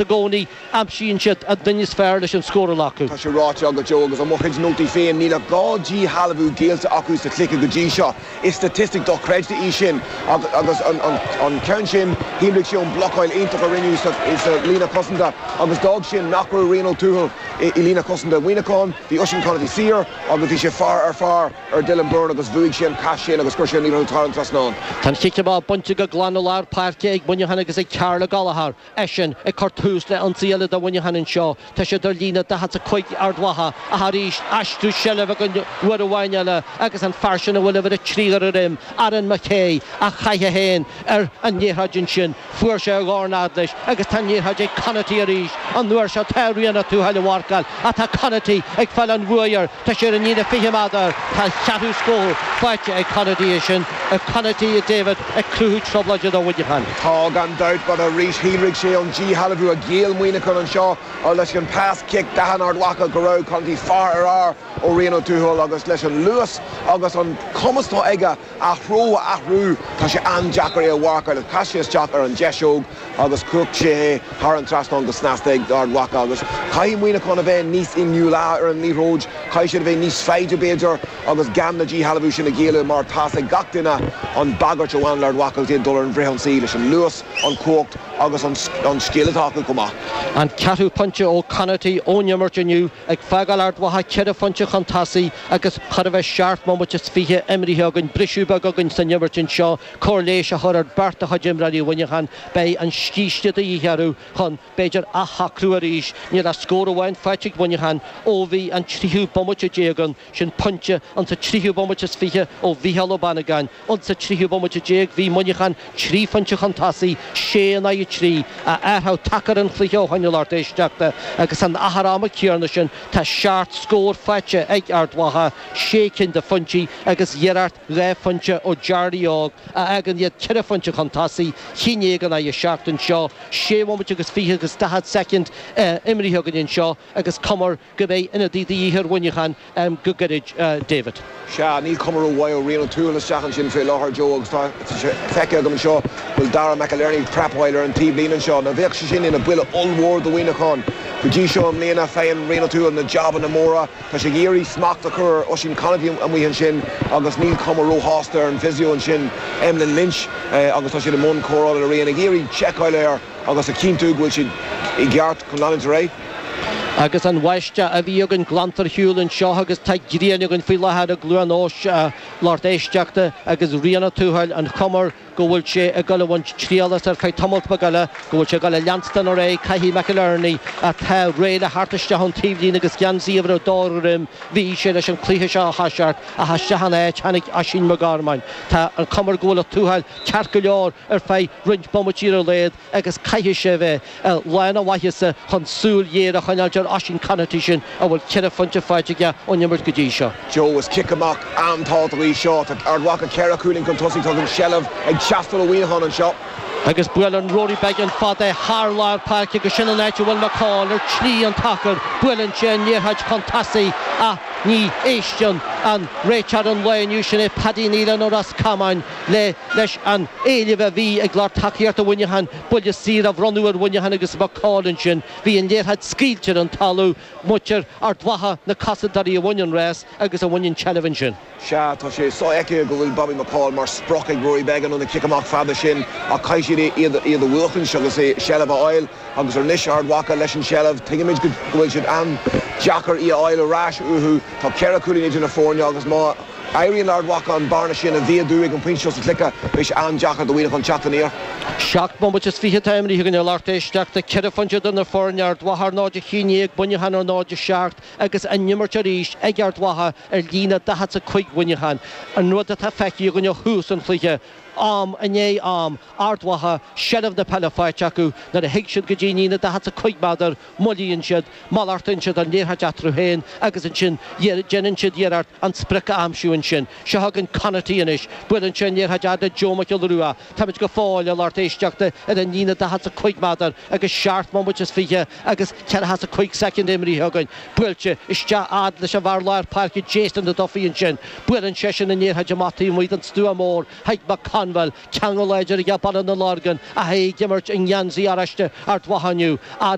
I gcónaí, aimsíonn siad an duine is fearr leis an scór a ghlacadh. Tá sé ráite agat, Joe, agus i mo chuid nótaí féin, níl ach 2 díshealbhú géillte acu sa chluiche go dtí seo. Is staitistic dochreidte í sin agus an ceann sin, shíolraigh sé ón mblocáil iontach a rinneadh sa líne cosanta agus d'fhág sin nach raibh Rian Ó Tuathail i líne cosanta Mhuineacháin. Bhí Oisín Conaty saor agus bhí sé fear ar fear ar Dylan Byrne agus bhuaigh sé an cath sin agus chuir sé an liathróid thar an trasnán. Tá an chic amach bainte go glan i lár páirce ag Muineachán agus ag Karl Gallagher. Eisean ag cur tús le ionsaí eile do Mhuineachán anseo. Tá siad ar líne 45 Ard Mhacha ach arís aistriú seilbhe againn uair amháin eile agus an fear sin a bhfuil uimhir 3 ar a dhroim, Aaron McKay, a chaith é féin ar an liathróid ansin. Fuair sé a dhorn fhad leis agus tá an liathróid ag Conaty arís. An uair seo tá Rian Ó Tuathail á mharcáil ach tá Conaty ag fáil an bhuaidh air. Tá sé ar an líne 20 méadar. Tá a cheathrú scór faighte ag Conaty é sin. Conaty, a David, ag cruthú trioblóide do Mhuineachán. Tá, gan dabht, but arís shíolraigh sé ón díshealbhú a ghéill Muineachán anseo leis an pas cic d'aithin Ard Mhacha go raibh Conaty fear ar fhear ó Rian Ó Tuathail agus leis an luas agus an cumas atá aige a threo a athrú tá sé an-deacair é a mharcáil. Chas sé isteach ar an deiseog agus chuach sé é thar an trasnán go snasta ag Ard Mhacha agus caithfidh Muineachán a bheith níos inniúla ar an liathróid, caithfidh siad a bheith níos foighde b'fhéidir agus gan na díshealbhú sin a ghéilleadh mar tá's ag gach duine an bagairt a bhaineann le Ard Mhacha agus iad ag dul ar an bhfrithionsaí leis an luas, an chumhacht agus an scil atá acu chomh maith. An ceathrú pointe ó Conaty ón imirt inniu ag fágáil Ard Mhacha ceithre phointe chun tosaigh agus chóir a bheith seacht mbomaite is 20 imrithe againn, briseadh beag againn san imirt anseo. Cóir leighis a chur ar beirt de chuid imreoirí Mhuineacháin. Beidh an scíste de dhíth orthu chun, b'fhéidir, athshocrú arís. Níl ach scór amháin faighte ag Muineachán ó bhí an tríú bomaite déag ann, sin pointe insa tríú bomaite is 20 ó Mhícheál Ó Bannagáin. Insa tríú bomaite déag bhí Muineachán trí phointe chun tosaigh, sé in aghaidh 3, a athrú tacar an chluiche ó shoin a lucht éisteachta agus san achar ama céanna sin tá seacht scór faighte ag Ard Mhacha, sé cinn de phointí agus iarracht 2 phointe ó Jarly Óg a fhágann iad ceithre phointe chun tosaigh, 11 in aghaidh 7 anseo, sé bhomaite agus 20 agus 40 soicind imrithe againn anseo agus cuma go mbeidh ionadaí de dhíth ar Mhuineachán go gairid, David. Sea, níl cuma rómhaith ó Rian Ó Tuathail isteach ansin fé láthair, Joe, agus tá sé feicthe agam anseo go bhfuil Dara McInerney ag prapáil ar an taobhlíne anseo. Now bheadh sé sin ina buille ollmhór do Mhuineachán. Go dtí seo i mbliana, faigheann Rian Ó Tuathail na jabanna móra. Tá sé ag iarraidh smacht a chur ar Oisín Conaty amuigh ansin agus níl cuma róshásta ar an physio ansin, Emlyn Lynch, agus tá siad i mbun cóireála le Rian, ag iarraidh seiceáil air agus a chinntiú go bhfuil siad i gceart chun leanúint ar aghaidh. Agus an bháisteach a bhí againn glanta ar shiúl anseo agus tá grian againn faoi láthair i gCluain Eois, a lucht éisteachta, agus Rian Ó Tuathail, an chuma go bhfuil sé ag dul a bhaint triail as ar feadh tamalt beag eile, go bhfuil sé ag dul a leanstan ar aghaidh, caithfidh McInerney, atá réidh le theacht isteach ón taobhlíne agus geansaí uimhir a dó ar a dhroim, bhí sé leis an cluiche seo a thoiseacht, ach isteach ina áit tháinig Oisín Mac Gormáin. Tá an chuma go bhfuil Ó Tuathail ceart go leor ar feadh roinnt bomaití ar a laghad agus caithfidh sé a bheith i lán a mhaitheasa chun súil ghéar a choinneáilt ar Oisín Conaty sin a bhfuil ceithre phointe faighte aige ón imirt go dtí seo. Joe, is cic amach an-tábhachtach í seo. Tá Ard Mhacha ceithre chúilín chun tosaigh. Tá an tseilbh ag teastáil ó Mhuineachán anseo. Agus buaileann Rory Beggan fada thar lár páirce agus sin an áit a bhfuil McCall ar shlí an tsacair. Buaileann sé an liathróid chun tosaigh ach ní éisteann an réiteoir an lae inniu, sin é Paddy Nealon ó Ros Comáin, le leis an éileamh a bhí ag lucht tacaíochta Mhuineacháin buille saor a bhronnadh ar Mhuineachán agus McCall ansin. Bhí an liathróid scaoilte ar an talamh, muintir Ard Mhacha, na cosantóirí a bhain an rás agus a bhain an tseilbh ansin. Sea, tá sé sofheicthe go bhfuil Bobby McCall mar sprioc ag Rory Beggan ó na cic amach fada sin ach caithfidh siad iad a bhuachaint agus seilbh a fháil agus anois Ard Mhacha leis an tseilbh, tuigimid go bhfuil siad an-deacair í a fháil ar ais uathu. Tá ceithre chúilín idir na foirne agus má. éiríonn le Ard Mhacha an bearna sin a mhéadú ag an bpointe seo sa chluiche, beidh sé an-deacair do Mhuineachán teacht aniar. Seacht mbomaite is 20 atá imrithe againn a lucht éisteachta, ceithre phointe idir na foirne, Ard Mhacha ar 0-11, Muineachán ar 0-7 agus an imirt arís ag Ard Mhacha ar líne 45 Mhuineacháin. An rud atá feicthe againn ó thús an chluiche, am i ndiaidh am, Ard Mhacha, seilbh na peile faighte acu nuair a thig siad go dtí an líne 45 méadar, moillíonn siad, malartaíonn siad an liathróid eatarthu féin agus ansin déanann siad iarracht an sprioc a aimsiú ansin. Seo chugainn Conaty anois. Buaileann sé an liathróid fhad le Joe Mac Giolla Rua. Táimid go fóill, a lucht éisteachta, ar an líne 45 méadar agus seacht mbomaite is 20 agus 45 soicind imrithe againn. Buailte isteach fhad leis an bhfear lár páirce Jason O'Duffy ansin. Buaileann seisean an liathróid amach taobh amuigh den stua mór chuig McConville. Conwell. Ceangal láidir aige Baile na Lorgan ach é ag imirt i ngeansaí oráiste Ard Mhacha inniu.